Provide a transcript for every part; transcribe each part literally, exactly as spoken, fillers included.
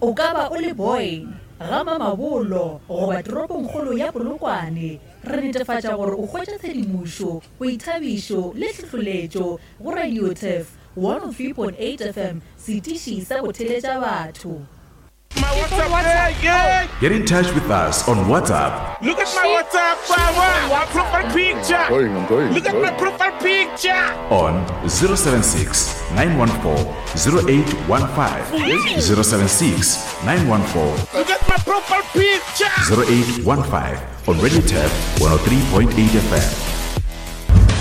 O ka ba o le Boyne, Ga-Mamabolo goba toropongkgolo ya Polokwane, re netefatša gore o hwetša tshedimošo, boithabišo le hlohloletšo go Radio Turf one oh three point eight F M, setiši sa go theletša batho. My WhatsApp, yeah, yeah. Get in touch with us on WhatsApp. Look at my WhatsApp, my, my profile picture. I'm going, I'm going, Look I'm at my going. profile picture. On zero seven six, nine one four, zero eight one five. zero seven six, nine one four. Look at my profile picture. zero eight one five on Radio Turf one oh three point eight F M.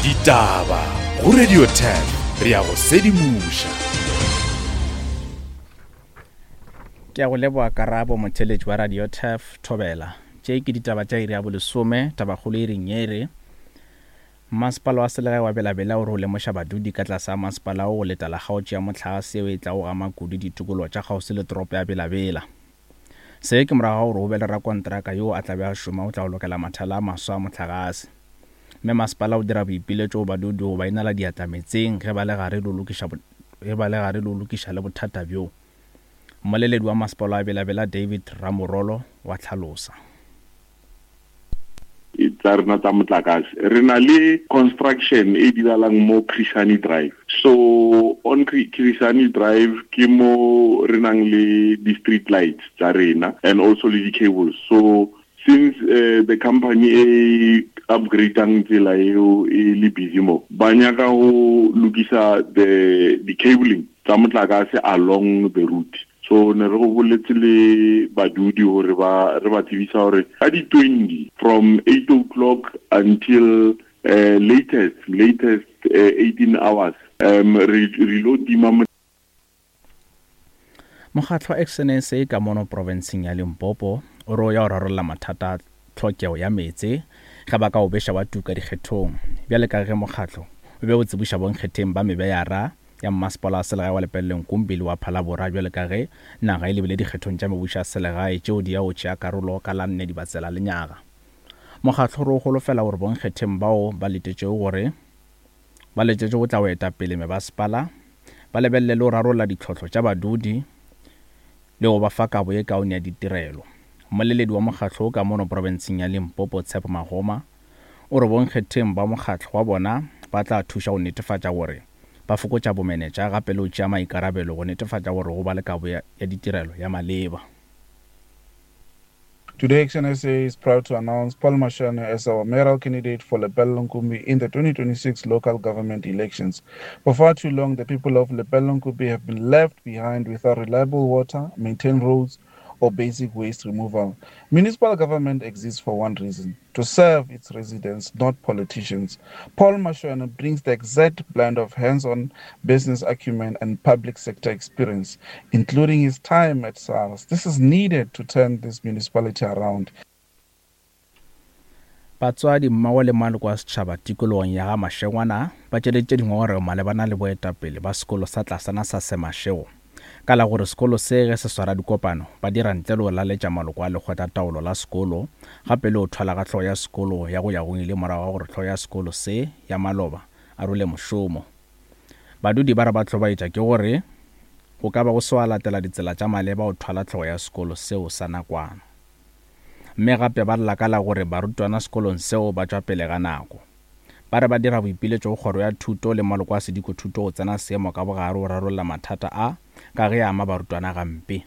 Ditaba go Radio Turf, re ya go sedimoša. Ke a go leboga Karabo, motheletši wa Radio Turf Thobela. Tše ke ditaba tša iri ya bolesome, tabakgolo e reng ye re Masepala wa selegae wa Bela-Bela o re o lemoša badudi ka tlase ga masepala o go letela kgaotšo ya mohlagase yeo e tlago gama kudu ditikologo tša kgauswi le toropo ya Bela-Bela. Se ke morago ga gore o be le rakontraka yo a tla be a šoma o tla go lokela mathala a maswa a mohlagase. Mme masepala o dira boipiletšo go badudi go ba inela diatla metseng ge ba le gare le go lokiša bo-, ge ba le gare le go lokiša le bothata bjo. Mmoleledi wa masepala wa Bela-Bela David Ramorolo wa tlhalosa. Tsa rena tsa motlakase re na le construction e diralang mo Chris Hani Drive. So on Chris Hani Drive ke mo re nang le di street lights tsa rena and also le di cables. So since, uh, the company e upgradang tsela eo e le busy mo, ba nyaka go lokisa the, the cabling tsa motlakase along the route. So ne re go boletse le badudi hore ba re ba tsebisa hore ka di twenty from eight o'clock until, uh, latest, latest, uh, eighteen hours, um, re, re lo tima mo- Mokgatlo wa Action S A ka mono provinceng ya Limpopo o re o ya go rarolla mathata a tlhokego ya meetse ge ba ka o beša wa tuka dikgethong. Bjale ka ge mokgatlo o be o tsebiša bonkgetheng ba mebeyara ya mmasepala wa selegae wa Lepelle Nkumpi le wa Phalaborwa bjale ka ge naga e lebile dikgethong tša mebušo ya selegae tšeo di ya go tšea karolo ka la nne Dibatsela lenyaga. Mokgatlo o re o holofela gore bonkgetheng bao ba letetšego gore ba letetše go tla go eta pele mebasepala ba lebelele le go rarolla ditlhohlo tša badudi le go ba fa kabo ye kaone ya ditirelo. Mmoleledi wa mokgatlo o ka mono profenseng ya Limpopo Tshepo Magoma o re bonkgetheng ba mokgatlo wa bona ba tla thuša go netefatša gore ba fokotša bomenetša gape le go tšea maikarabelo go netefatša gore go ba le kabo ya, ya ditirelo ya maleba. Today, Action S A is proud to announce Paul Mashoane as our mayoral candidate for Lepelle Nkumbi in the twenty twenty-six local government elections. For far too long, the people of Lepelle Nkumbi have been left behind without reliable water, maintained roads, or basic waste removal. Municipal government exists for one reason: to serve its residents, not politicians. Paul Mashoane brings the exact blend of hands-on business acumen and public sector experience, including his time at SARS. This is needed to turn this municipality around. Batswadi mmogo le maloko a setšhaba tikologong ya ga Mashengwana ba tšweleditše dingongorego malebana le boetapele ba sekolo sa tlasana sa Semashego ka la gore sekolo se ge se swara dikopano ba dira ntle le go laletša maloko a lekgotlataolo la sekolo gape le go thwala ga hlogo ya sekolo ya go ya go ile morago ga gore hlogo ya sekolo se ya maloba a role mošomo. Badudi ba re ba hlobaetša ke gore go ka ba go se wa latela ditsela tša maleba go thwala hlogo ya sekolo seo sa nakwana. Mme gape ba lla ka la gore barutwana sekolong seo ba tšwa pele ga nako. Ba re ba dira boipiletšo go kgoro ya thuto le maloko a sedikothuto go tsena seemo ka bogare go rarolla mathata a ka ge a ama barutwana gampe.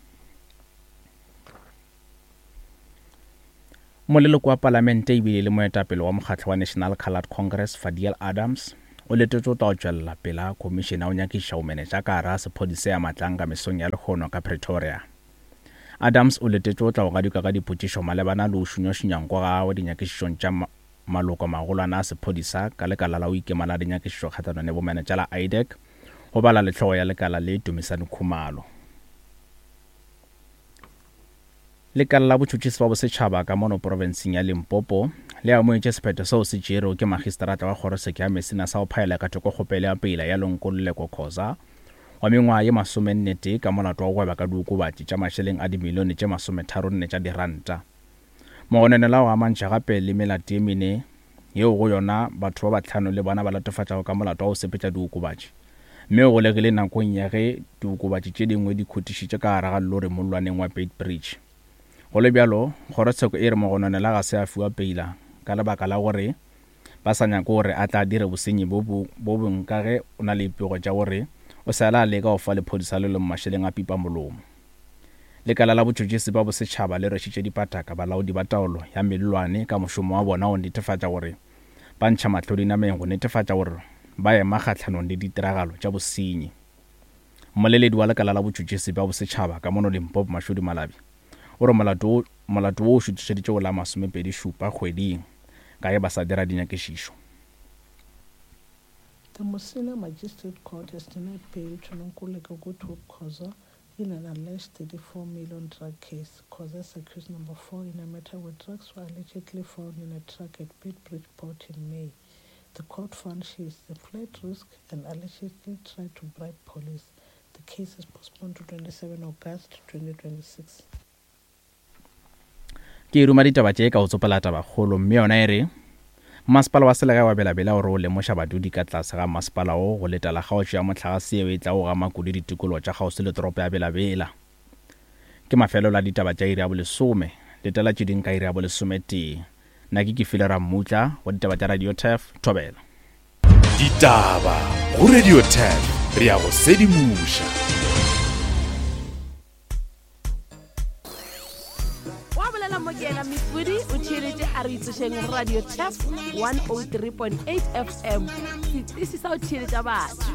Moleloko wa palamente ebile le moetapele wa mokgatlo wa National Coloured Congress Fadiel Adams o letetše go tla go tšwelela pele ga khomišene ya go nyakišiša bomenetša ka gare ga sephodisa ya Matlanga mesong ya lehono ka Pretoria. Adams o letetše go tla go gadikwa ka dipotšišo malebana le go šunyašunya nko ga gagwe dinyakišišong tša ma-, maloko magolwane a sephodisa ka lekala la go ikema la dinyakišišo kgahlanong le bomenetša la I D E C go bala le hlogo ya lekala le Dumisani Khumalo. Lekala la botšhotšhisi ba bosetšhaba ka mono profenseng ya Limpopo le amogetše sephetho seo se tšerwego ke magistrata wa kgorotsheko ya Messina sa go phaela ka thoko kgopelo ya peila ya Nkululeko Khoza wa mengwaga ye masomenne tee ka molato wa go gweba ka diokobatši tša mašeleng a dimilione tše masometharonne tša diranta. Mogononelwa o amantšha gape le melato ye mene yeo go yona batho ba bahlano le bona ba latofatšago ka molato wa go sepetša diokobatši. Mme o golegile nakong ya ge diokobatši tše dingwe di khutišitše ka gare ga lori mollwaneng wa Beitbridge. Go le bjalo, kgorotsheko e re mogononela ga se a fiwa peila ka lebaka la gore ba sa nyake gore a tla dire bosenyi bo bo bongwe ka ge o na le dipego tša gore o sa le a leka go fa lephodisa le lengwe mašeleng a pipa molomo. Lekala la botšhotšhisi ba bosetšhaba le rwešitše dipataka balaodi ba taolo ya mellwane ka mošomo wa bona go netefatša gore ba ntšha mahlo dinameng go netefatša gore ba ema kgahlanong le ditiragalo tša bosenyi. Mmoleledi wa lekala la botšhotšhisi ba bosetšhaba ka mono Limpopo Mashudu Malabi o re molato molato wo o šuthišeditše go la masomepedi šupa kgweding ka ge ba sa dira dinyakišišo. The Musina Magistrate Court has denied bail to Nonkululeko Goodhope Khoza in an alleged thirty-four million drug case. Khoza is accused number four in a matter where drugs were allegedly found in a truck at Beitbridge Port in May. The court found she is a flight risk and allegedly tried to bribe police. The case is postponed to twenty-seventh August twenty twenty-six. Ke ruma ditaba tše ka go tsopela tabakgolo mme yona e re masepala wa selegae wa Belabela o re o lemoša badudi ka tlase ga masepala wo go letela kgaotšo ya mohlagase yeo e tla go gama kudu ditikologo tša kgauswi le toropo ya Belabela. Ke mafelelo a ditaba tša iri ya bolesome, letela tše ding ka iri ya bolesometee. Nna ke Kefile Rammutla go ditaba tša Radio Turf, Thobela. Ditaba go Radio Turf, re ya go sedimoša. Mokena Mifudi o theeletše a re itsošeng Radio Turf one oh three point eight F M. Setisi sa o theeletša batho.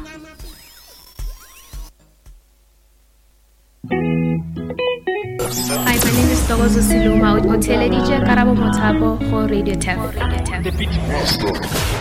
Hi, my name is Togozo Siluma. O theeleditše Karabo Mothapo go Radio Turf. The Beat Master.